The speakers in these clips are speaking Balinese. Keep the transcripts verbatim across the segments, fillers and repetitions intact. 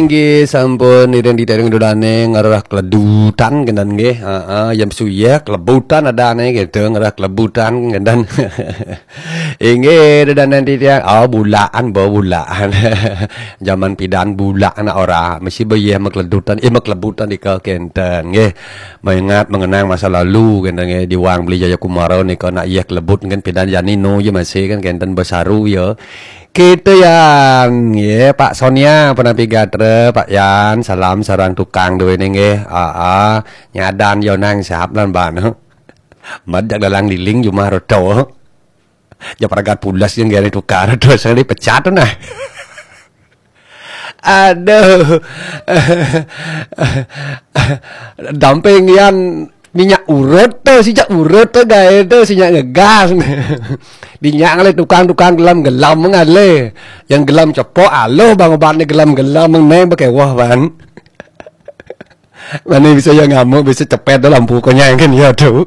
Niki sampun iring ditereng dodane ngarah keledutan kenten nggih. Heeh, yem suyek kelebutan adane gitu, ngarah kelebutan kenten. Inggih, dodane titiang. Oh, bulaan, bo, bulaan. Zaman pidan bulaan ora. Mesti bo yeh makeledutan, eh, makelebutan dika kenten nggih. Mengingat mengenang masa lalu kenten nggih, diwang beli Jayakumara nika nak yeh kelebut kan pidan jani no ya masih kan kenten besaru ya. Kita yang ya Pak Sonia pun napi gatra, Pak Yan, salam sareng tukang duwe nggih. Aa, nyadan yo nang sahap lan ban. Majak dalang liling jumah roto. Ja pragat pulas yang gari tukar terus dipecat tu nah. Aduh. Damping Yan minyak urut tu, sijak urut tu gae tu, sijak ngegas. Dinyak ngalih tukang-tukang gelam-gelam ngalih. Yang gelam cepok aluh bang obat ni gelam-gelam meneng bekewah ban. Mana bisa yang ngamuk, bisa cepet tu lampu konyang kan ya tu.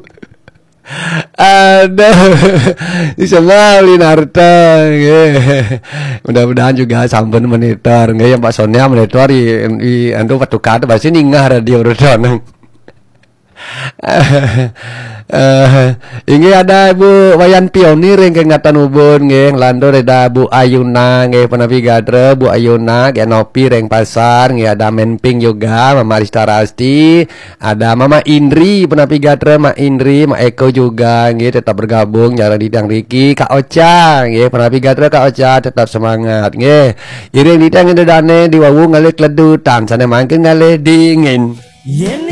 Aduh. Bisa beli narta nggih. Mudah-mudahan juga sampun monitor nggih yang Pak Sonia monitor di, di anu patukar tu pasti ningah radio roto nang. Eh, inggih ada Ibu Wayan Pionir yang kengatan ubun nggih, lantur ada Bu Ayuna nggih, penapi gatra Bu Ayuna, Genopi ring pasar nggih, ada Menping juga, Mama Rista Rasti, ada Mama Indri, penapi gatra Mak Indri, Mak Eko juga nggih, tetap bergabung, jarang ditang Riki, Kak Ocha nggih, penapi gatra Kak Ocha, tetap semangat nggih. Iring ditang dane diwawu ngalih keledutan, sana mangkin ngalih dingin. Yen